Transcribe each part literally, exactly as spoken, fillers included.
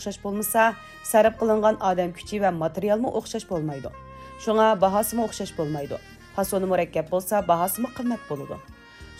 ئوخشاش بولمىسا، سەرپ قىلىنغان ئادەم كۈچى ۋە ماتېرىيالمۇ ئوخشاش بولمايدۇ. شۇڭا باھاسىمۇ ئوخشاش بولمايدۇ. پاسونى مۇرەككەپ بولسا، باھاسىمۇ قىممەت بولىدۇ.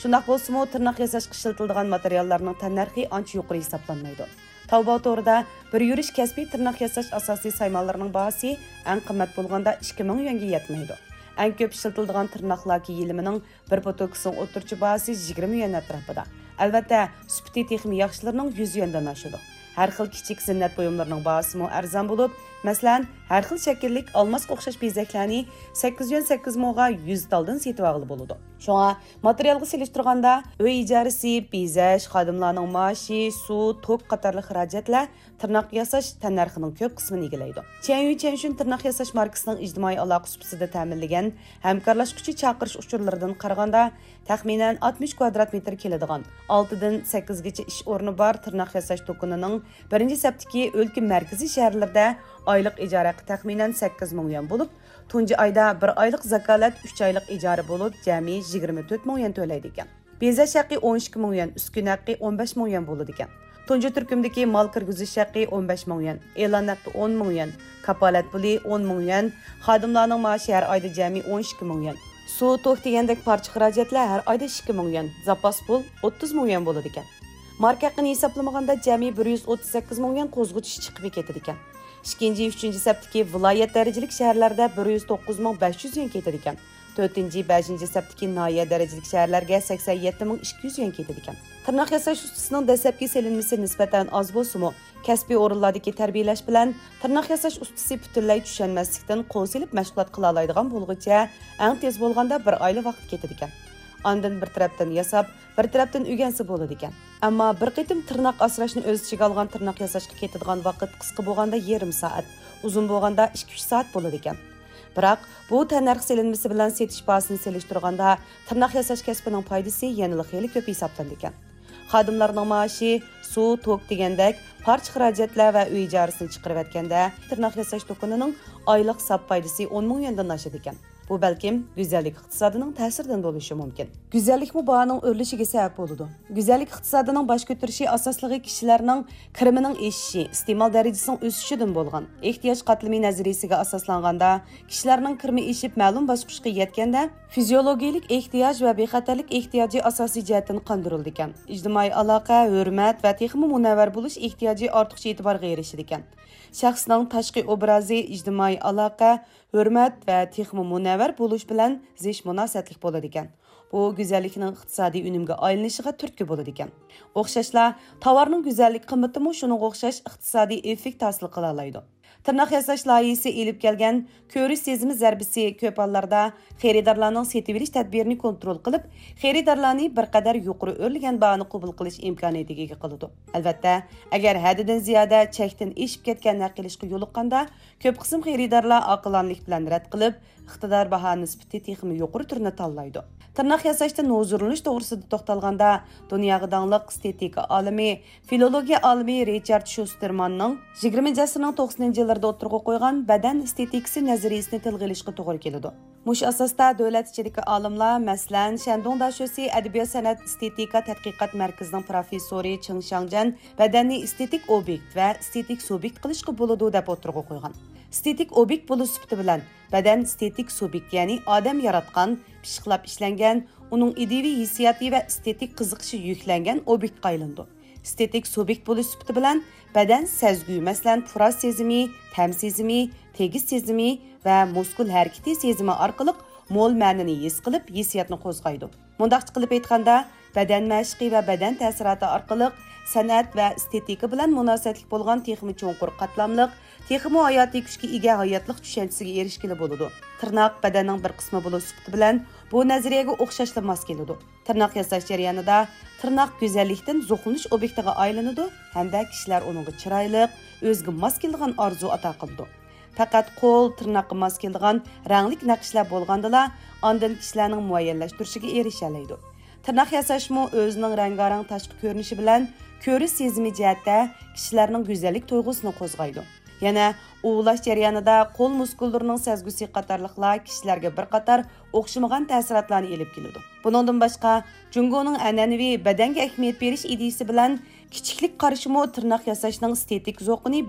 شۇنداق بولسىمۇ، تىرناق ياساشقا ئىشلىتىلىدىغان ماتېرىياللارنىڭ تەننەرخى ئانچە يۇقىرى ھېسابلانمايدۇ. تاۋباۋ تورىدا بىر يۈرۈش كەسپىي تىرناق ياساش ئاساسىي سايمانلىرىنىڭ باھاسى ئەڭ قىممەت بولغاندا ئىككى مىڭ يۈەنگە يەتمەيدۇ. ئەڭ كۆپ ئىشلىتىلىدىغان تىرناقلار كىيىلىمىنىڭ بىر پوتوكىسىنىڭ ئوتتۇرىچە باھاسى يىگىرمە يۈەن ئەتراپىدا. ئەلۋەتتە، سۈپىتى تېخىمۇ ياخشىلىرىنىڭ يۈز يۈەندىن ئاشىدۇ. ھەر خىل كىچىك زىننەت بۇيۇملىرىنىڭ باھاسىمۇ ئەرزان بولۇپ، مەسىلەن، ھەر خىل شەكىللىك ئالماسقا ئوخشاش بېزەكلەرنى سەككىز يۈەن سەككىز موغا يۈز تالدىن سېتىۋالغىلى بولىدۇ. شۇڭا ماتېرىيالغا سېلىشتۇرغاندا، ئۆي ئىجارىسى، بېزەش، خادىملارنىڭ مائاشى، سۇ، توك قاتارلىق خىراجەتلەر تىرناق ياساش تەننەرخىنىڭ كۆپ قىسمىنى ئىگىلەيدۇ. چيەنيۈ چيەنشۈن تىرناق ياساش ماركىسىنىڭ ئىجتىمائىي ئالاقە سۇپىسىدا تەمىنلىگەن ھەمكارلاشقۇچى چاقىرىش ئۇچۇرلىرىدىن قارىغاندا، تەخمىنەن ئاتمىش كۋادرات مېتىر كېلىدىغان، ئالتىدىن سەككىزگىچە ئىش ئورنى بار تىرناق ياساش دۇكىنىنىڭ بىرىنچى سەپتىكى ئۆلكە مەركىزىي شەھەرلىرىدە ئايلىق ئىجارە ھەققى تەخمىنەن سەككىز مىڭ يۈەن بولۇپ، تۇنجى ئايدا بىر ئايلىق زاكالەت، ئۈچ ئايلىق ئىجارە بولۇپ، جەمئىي يىگىرمە تۆت مىڭ يۈەن تۆلەيدىكەن. بېزەش ھەققى ئون ئىككى مىڭ يۈەن، ئۈسكۈنە ھەققى ئون بەش مىڭ يۈەن بولىدىكەن. تۇنجى تۈركۈمدىكى مال كىرگۈزۈش ھەققى ئون بەش مىڭ يۈەن، ئېلان ھەققى ئون مىڭ يۈەن، كاپالەت پۇلى ئون مىڭ يۈەن، خادىملارنىڭ مائاشى ھەر ئايدا جەمئىي ئون ئىككى مىڭ يۈەن، سۇ، توك دېگەندەك پارچە خىراجەتلەر ھەر ئايدا ئىككى مىڭ يۈەن، زاپاس پۇل ئوتتۇز مىڭ يۈەن بولىدىكەن. ماركا ھەققىنى ھېسابلىمىغاندا جەمئىي بىر يۈز ئوتتۇز سەككىز مىڭ يۈەن قوزغىتىش چىقىمى كېتىدىكەن. ئىككىنچى، ئۈچىنچى سەپتىكى ۋىلايەت دەرىجىلىك شەھەرلەردە بىر يۈز توققۇز مىڭ بەش يۈز يۈەن كېتىدىكەن. تۆتىنچى، بەشىنچى سەپتىكى ناھىيە دەرىجىلىك شەھەرلەرگە سەكسەن يەتتە مىڭ ئىككى يۈز يۈەن كېتىدىكەن. تىرناق ياساش ئۇستىسىنىڭ دەسلەپكى سېلىنمىسى نىسبەتەن ئاز بولسىمۇ، كەسپىي ئورۇنلاردىكى تەربىيەلەش بىلەن تىرناق ياساش ئۇستىسى پۈتۈنلەي چۈشەنمەسلىكتىن قول سېلىپ مەشغۇلات قىلالايدىغان بولغۇچە، ئەڭ تېز بولغاندا بىر ئايلا ۋاقىت كېتىدىكەن. ئاندىن بىر تەرەپتىن ياساپ، بىر تەرەپتىن ئۆگەنسە بولىدىكەن. ئەمما بىر قېتىم تىرناق ئاسراشنى ئۆز ئىچىگە ئالغان تىرناق ياساشقا كېتىدىغان ۋاقىت قىسقا بولغاندا يېرىم سائەت، ئۇزۇن بولغاندا ئىككى ئۈچ سائەت بولىدىكەن. بىراق، بۇ تەننەرخ سېلىنمىسى بىلەن سېتىش باھاسىنى سېلىشتۇرغاندا، تىرناق ياساش كەسپىنىڭ پايدىسى يەنىلا خېلى كۆپ ھېسابلىنىدىكەن. خادىملارنىڭ مائاشى، سۇ، توك دېگەندەك پارچە خىراجەتلەر ۋە ئۆي ئىجارىسىنى چىقىرىۋەتكەندە، تىرناق ياساش دۇكىنىنىڭ ئايلىق ساپ پايدىسى ئون مىڭ يۈەندىن ئاشىدىكەن. بۇ بەلكىم گۈزەللىك ئىقتىسادىنىڭ تەسىرىدىن بولۇشى مۇمكىن. گۈزەللىكمۇ باھانىڭ ئۆرلىشىگە سەۋەب بولىدۇ. گۈزەللىك ئىقتىسادىنىڭ باش كۆتۈرۈشى ئاساسلىقى كىشىلەرنىڭ كىرىمىنىڭ ئېشىشى، ئىستېمال دەرىجىسىنىڭ ئۆسۈشىدىن بولغان. ئېھتىياج قاتلىمى نەزەرىيىسىگە ئاساسلانغاندا، كىشىلەرنىڭ كىرىمى ئېشىپ مەلۇم باسقۇچقا يەتكەندە، فىزىيولوگىيەلىك ئېھتىياج ۋە بىخەتەرلىك ئېھتىياجى ئاساسىي جەھەتتىن قاندۇرۇلىدىكەن. ئىجتىمائىي ئالاقە، ھۆرمەت ۋە تېخىمۇ مۇنەۋۋەر بولۇش ئېھتىياجى ئارتۇقچە ئېتىبارغا ئېرىشىدىكەن. شەخسنىڭ تاشقى ئوبرازى، ئىجتىمائىي ئالاقە، ھۆرمەت ۋە تېخىمۇ مۇنەۋۋەر بولۇش بىلەن زىچ مۇناسىۋەتلىك بولىدىكەن. بۇ گۈزەللىكنىڭ ئىقتىسادىي ئۈنۈمگە ئايلىنىشىغا تۈرتكە بولىدىكەن. ئوخشاشلا، تاۋارنىڭ گۈزەللىك قىممىتىمۇ شۇنىڭغا ئوخشاش ئىقتىسادىي ئېففېكت ھاسىل قىلالايدۇ. تىرناق ياساش لايىھىسى ئېلىپ كەلگەن كۆرۈش سېزىمى زەربىسى كۆپ ھاللاردا خېرىدارلارنىڭ سېتىۋېلىش تەدبىرىنى كونترول قىلىپ، خېرىدارلارنى بىر قەدەر يۇقىرى ئۆرلىگەن باھانى قوبۇل قىلىش ئىمكانىيىتىگە ئىگە قىلىدۇ. ئەلۋەتتە، ئەگەر ھەددىدىن زىيادە چەكتىن ئېشىپ كەتكەن ھەق ئېلىشقا يولۇققاندا، كۆپ قىسىم خېرىدارلار ئاقىلانىلىك بىلەن رەت قىلىپ، ئىقتىدار باھا نىسبىتى تېخىمۇ يۇقىرى تۈرنى تاللايدۇ. تىرناق ياساشتىن ھۇزۇرلىنىش توغرىسىدا توختالغاندا، دۇنياغا داڭلىق ئېستېتىكا ئالىمى، فىلولوگىيە ئالىمى رىچارد شۇستېرماننىڭ يىگىرمىنچى ئەسىرنىڭ توقسىنىنچى يىللىرىدا ئوتتۇرىغا قويغان بەدەن ئېستېتىكىسى نەزەرىيىسىنى تىلغا ئېلىشقا توغرا كېلىدۇ. مۇشۇ ئاساستا دۆلەت ئىچىدىكى ئالىملار، مەسىلەن، شەندۇڭ داشۆسى ئەدەبىيات سەنئەت ئېستېتىكا تەتقىقات مەركىزىنىڭ پروفېسسورى چېڭ شياڭجيەن بەدەننى ئېستېتىك ئوبيېكت ۋە ئېستېتىك سۇبيېكت قىلىشقا بولىدۇ، دەپ ئوتتۇرىغا قويغان. ئېستېتىك ئوبيېكت بولۇش سۈپىتى بىلەن بەدەن ئېستېتىك سۇبيېكت، يەنى ئادەم ياراتقان، پىششىقلاپ ئىشلەنگەن، ئۇنىڭ ئىدىيىۋى ھېسسىياتى ۋە ئېستېتىك قىزىقىشى يۈكلەنگەن ئوبيېكتقا ئايلىنىدۇ. ئېستېتىك سۇبيېكت بولۇش سۈپىتى بىلەن بەدەن سەزگۈ، مەسىلەن، پۇراش سېزىمى، تەم سېزىمى، تېگىش سېزىمى ۋە مۇسكۇل ھەرىكىتى سېزىمى ئارقىلىق مول مەنىنى ھېس قىلىپ، ھېسسىياتنى قوزغايدۇ. مۇنداقچە قىلىپ ئېيتقاندا، بەدەن مەشىقى ۋە بەدەن تەسىراتى ئارقىلىق سەنئەت ۋە ئېستېتىكا بىلەن مۇناسىۋەتلىك بولغان تېخىمۇ چوڭقۇر قاتلاملىق، تېخىمۇ ھاياتىي كۈچكە ئىگە ھاياتلىق چۈشەنچىسىگە ئېرىشكىلى بولىدۇ. تىرناق بەدەننىڭ بىر قىسمى بولۇش سۈپىتى بىلەن بۇ نەزەرىيەگە ئوخشاشلا ماس كېلىدۇ. تىرناق ياساش جەريانىدا تىرناق گۈزەللىكتىن زوقلىنىش ئوبيېكتىغا ئايلىنىدۇ ھەمدە كىشىلەر ئۇنىڭغا چىرايلىق، ئۆزىگە ماس كېلىدىغان ئارزۇ ئاتا قىلىدۇ. پەقەت قول، تىرناققا ماس كېلىدىغان رەڭلىك نەقىشلەر بولغاندىلا، ئاندىن كىشىلەرنىڭ مۇئەييەنلەشتۈرۈشىگە ئېرىشەلەيدۇ. تىرناق ياساشمۇ ئۆزىنىڭ رەڭگارەڭ تاشقى كۆرۈنۈشى بىلەن كۆرۈش سېزىمى جەھەتتە كىشىلەرنىڭ گۈزەللىك تۇيغۇسىنى قوزغايدۇ. يەنە ئۇۋۇلاش جەريانىدا قول مۇسكۇللىرىنىڭ سەزگۈسى قاتارلىقلار كىشىلەرگە بىر قاتار ئوخشىمىغان تەسىراتلارنى ئېلىپ كېلىدۇ. بۇنىڭدىن باشقا، جۇڭگونىڭ ئەنئەنىۋى بەدەنگە ئەھمىيەت بېرىش ئىدىيىسى بىلەن كىچىكلىك قارىشىمۇ تىرناق ياساشنىڭ ئېستېتىك زوقىنى بىر